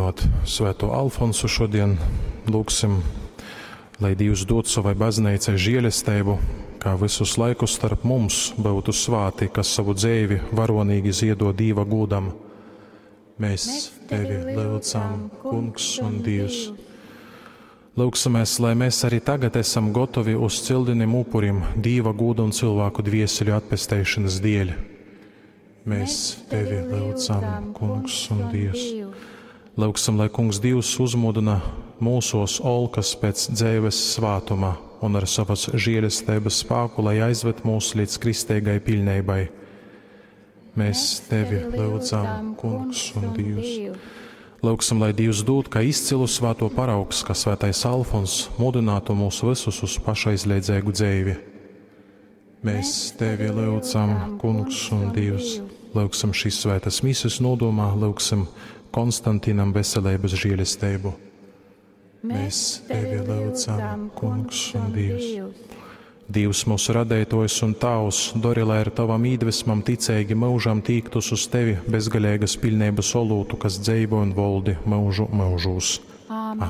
Gūdynot Svēto Alfonsu šodien, lūgsim, lai Dīvs dod savai bazneicai žielesteibu, kā visus laikus starp mums byutu svāti, kas savu dzeivi varonīgi ziedo Dīva gūdam. Mēs Tevi lyudzam, Kungs un Dīvs. Lūgsimies, lai mēs arī tagad esam gotovi uz cildinim upurim Dīva gūda un cilvēku dvieseļu atpesteišanas dēļ. Mēs Tevi lyudzam, Kungs un Dievs. Lūgsim, lai Kungs Dievs uzmudina mūsos olkas pēc dzeives svātuma un ar savas žēlestības spāku, lai aizved mūs līdz kristīgai pilnībai. Mēs Tevi lūdzam, Kungs un Dievs. Lūgsim, lai Dievs dod, ka izcilu svāto paraugs, ka svētais Alfons mudinātu mūs visus uz pašaizliedzīgu dzeivi. Mēs Tevi lūdzam, Kungs un Dievs. Lūgsim šīs svētas mises nodomā, lūgsim Konstantinam veselības žēlestību. Mēs Tevi lūdzam, Kungs un Dievs. Dievs mūsu radētojs un Tavs, dori, lai ar Tavam īdvesmam ticīgi mūžam tīktus uz Tevi bezgalīgas pilnības olūtu, kas dzeivo un voldi mūžu mūžūs.